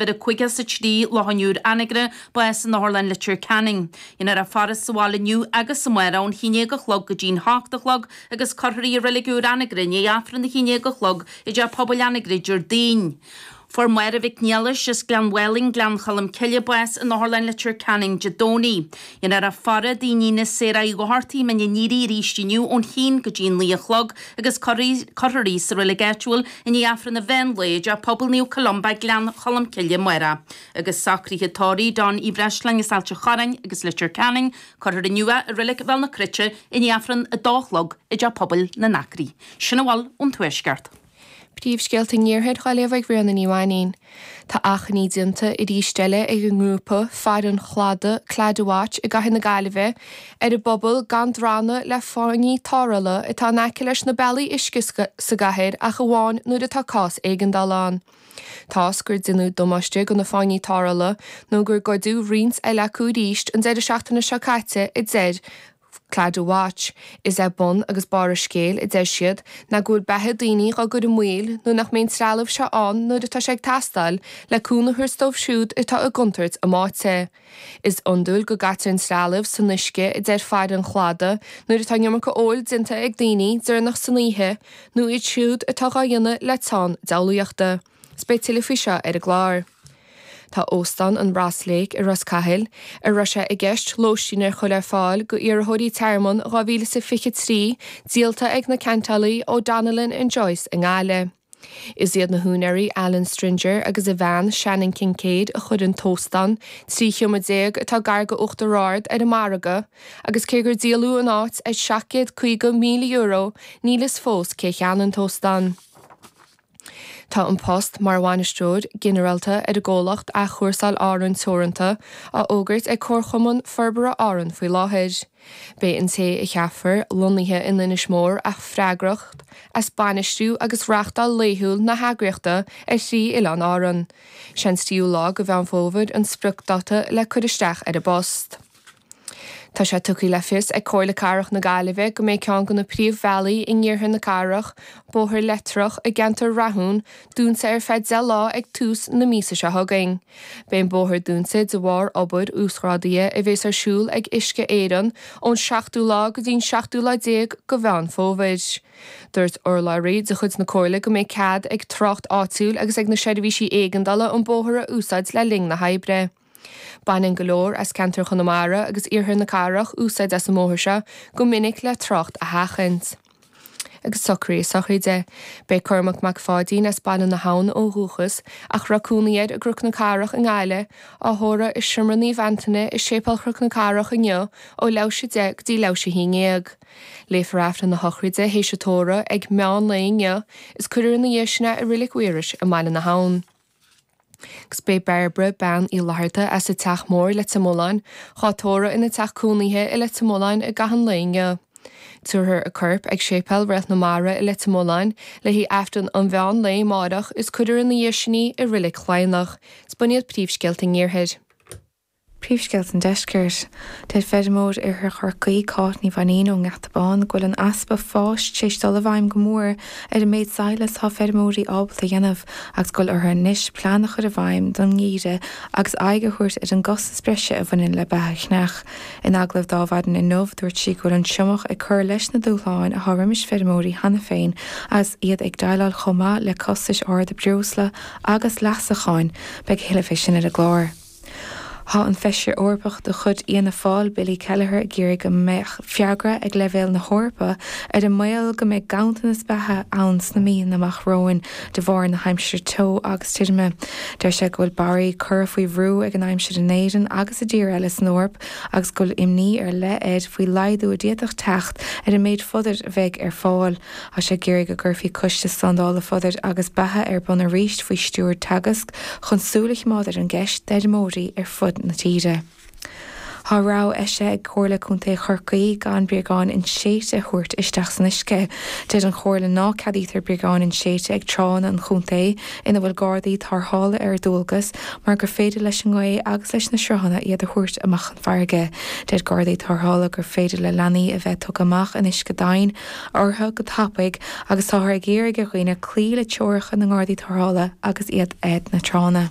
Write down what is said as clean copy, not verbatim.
Ar a 53 Loch an Iúir Anagaire, bás in Otharlann Leitir Ceanainn. Déanfar a faire sa bhaile inniu agus amárach ón 11 a chlog go dtí'n 8 a chlog agus cuirfear í i Reilig Úr Anagaire i ndiaidh Aifreann a 11 a chlog i dTeach Pobail Anagaire Déardaoin. Fuair Máire Mhic Niallais as Gleann Mhálainn, Gleann Cholm Cille, bás in Otharlann Leitir Ceanainn Dé Domhnaigh. Déanfar a faire d'iníon Sarah Uí Dhochartaigh, Mín an Aoire arís inniu ón haon go dtí an 9 a chlog agus cuirfear í sa reilig áitiúil i ndiaidh Aifreann an mheán lae i dTeach Pobail Naomh Columba, Gleann Cholm Cille amárach. Agus socruithe tórraimh Don Uí Bhreisleáin as Ailt an Chorráin agus Leitir Ceanainn, cuirfear inniu é i Reilig Bhéal na Cruite i ndiaidh Aifreann a dó a chlog i dTeach Pobail na nAcraí. Sin a bhfuil ón Tuaisceart. Príomhscéalta an Iarthair á léamh ag Ríona Ní Mhainín. Tá achainí déanta arís eile ag an ngrúpa Faire an Chladaigh, Claddagh Watch, i gcathair na Gaillimhe ar an bpobal gan drannadh le fáinní tarrthála atá in aice leis na bealaí uisce sa gcathair ach amháin nuair atá cás éigeandála ann. Toisc gur deineadh damáiste do na fáinní tarrthála nó gur goideadh roinnt eile acu arís an deireadh seachtaine seo caite a deir Claddagh Watch. Is é bun agus barr an scéil, a deir siad, ná go bhfuil beatha daoine dhá gcur i mbaol nuair nach mbíonn an trealamh seo ann nuair atá sé ag teastáil le cúnamh a thabhairt dóibh siúd atá i gcontúirt a mbáite. Is iondúil go gcaitear an trealamh san uisce, a deir faire an chladaigh, nuair atá an iomarca óil déanta ag daoine deireanach san oíche nó iad siúd atá dhá dhéanamh le teann diabhlaíochta. 'S beidh tuilleadh faoi seo ar an gclár. Tá Óstán an Ross Lake i Ros Cathail, a raibh sé i gceist lóistín a chur ar fáil go iarrthóirí tearmann 2023, díolta ag na ceantálaí O'Donnellan and Joyce i nGaillimh. Is iad na húinéirí Alan Stringer agus a bhean Shannon Kincaid a chuir an t-óstán, 13 sheomra atá gar go Uachtar Ard, ar an margadh agus cé gur díoladh an áit ar €750,000 níl fhios fós cé a cheannaigh an t-óstán. Tá an post mar Bhainisteoir Ginearálta ar an gcomhlacht Athchúrsáil Árann Teoranta á fhógairt ag Comharchumann Forbartha Árann faoi láthair. Beidh an té a cheapfar lonnaithe in Inis Mór ach freagrach as bainistiú agus reáchtáil laethúil na heagraíochta ar thrí oileán Árann. Sé an tríú lá de Mheán Fómhair an spriocdáta le cur isteach ar an bpost. Tá sé tugtha le fios ag Comhairle Cathrach na Gaillimhe go mbeidh ceann de na príomhbhealaí in iarthar na cathrach, Bóthar Leitreach i gceantar Rathún, dúnta ar feadh 10 lá ag tús na míosa seo chugainn. Beidh an bóthar dúnta de bharr obair uasghrádaithe a bhéas ar siúl ag Uisce Éireann ón seachtú lá go dtí an seachtú lá déag de Mheán Fómhair. Dúirt urlabhraí de chuid na Comhairle go mbeidh cead ag trácht áitiúil agus ag na seirbhísí éigeandála an bóthar a úsáid le linn na hoibre. Baineann go leor as ceantar Chonamara agus iarthar na cathrach úsáid as an mbóthar seo go minic le trácht a sheachaint. Agus socruithe sochraide. Beidh Cormac Mac Pháidín as Baile na hAbhann ó dhúchas, ach a raibh cónaí air i gCnoc na Cathrach i nGaillimh, á thórramh i Seomra Naomh Antaine i Séipéal Chnoc na Cathrach inniu ó leathuair théis 10 go dtí leathuair théis 11. Léifear Aifreann na sochraide théis an tórraimh ag meán lae inniu is cuirfear ina dhiaidh sin é i Reilig Mhaorais i mBaile na hAbhann. Agus beidh Bairbre, Bean Uí Fhlatharta as an Teach Mór, Leitir Mealláin, dhá tórramh ina teach cónaithe i Leitir Mealláin i gcaitheamh an lae inniu. Tabharfar a corp ag Séipéal Réalt na Mara i Leitir Mealláin le haghaidh Aifreann an mheán lae amáireach is cuirfear ina dhiaidh sin í i Reilig Chladhnach. Is b'in iad príomhscéalta an Iarthair. Príomhscéalta an Deiscirt. Deir feirmeoir Iarthar Chorcaí, Cáit Ní Mhainín ón nGeata Bán go bhfuil an easpa fáis tar éis dul i bhfeidhm go mór ar an méid sadhlais atá feirmeoirí ábalta a dhéanamh agus go bhfuil orthu anois plean a chur i bhfeidhm don ngeimhreadh agus aghaidh a thabhairt ar an gcostas breise a bhaineann le beatha a cheannach. In agallamh di ar maidin inniu, dúirt sí go bhfuil an triomach ag cur leis na dúshláin atá roimis feirmeoirí cheana féin agus iad ag déileáil chomh maith le costais arda breosla agus leasacháin. Beidh a thuilleadh fé sin ar an gclár. Tá an Feisire Eorpach de chuid Fhianna Fáil, Billy Kelleher ag iarraidh go mbeadh freagra ag leibhéal na hEorpa ar an mbaol go mbeidh ganntanas beatha ann sna míonna amach romhainn de bharr na haimsire teo agus tirime. Deir sé go bhfuil barraí curtha faoi bhrú ag an aimsir in Éirinn agus i dtíortha eile san Eoraip agus go bhfuil imní ar leith air faoi laghdú a d'fhéadfadh teacht ar an méid fodair a bheidh ar fáil. Tá sé ag iarraidh go gcuirfí Coiste Slándála Fodair agus Beatha ar bun arís faoi stiúir Teagasc chun súil a choimeád ar an gceist d'fheirmeoirí ar fud na tíre. Tá rabhadh eisithe ag Comhairle Contae Chorcaí gan bréagáin inséidte a thabhairt isteach san uisce. Deir an Chomhairle ná ceadaítear bréagáin inséidte ag tránna an chontae ina bhfuil gardaí tarrthála ar dualgas mar gur féidir leis an ngaoth agus leis na sruthanna iad a thabhairt amach chun farraige. Deir gardaí tarrthála gur féidir le leanaí a bheith tugtha amach in uisce domhain orthu go tapaidh agus táthar ag iarraidh ar dhaoine cloí le treoracha na nGardaí Tarrthála agus iad ag na tránna.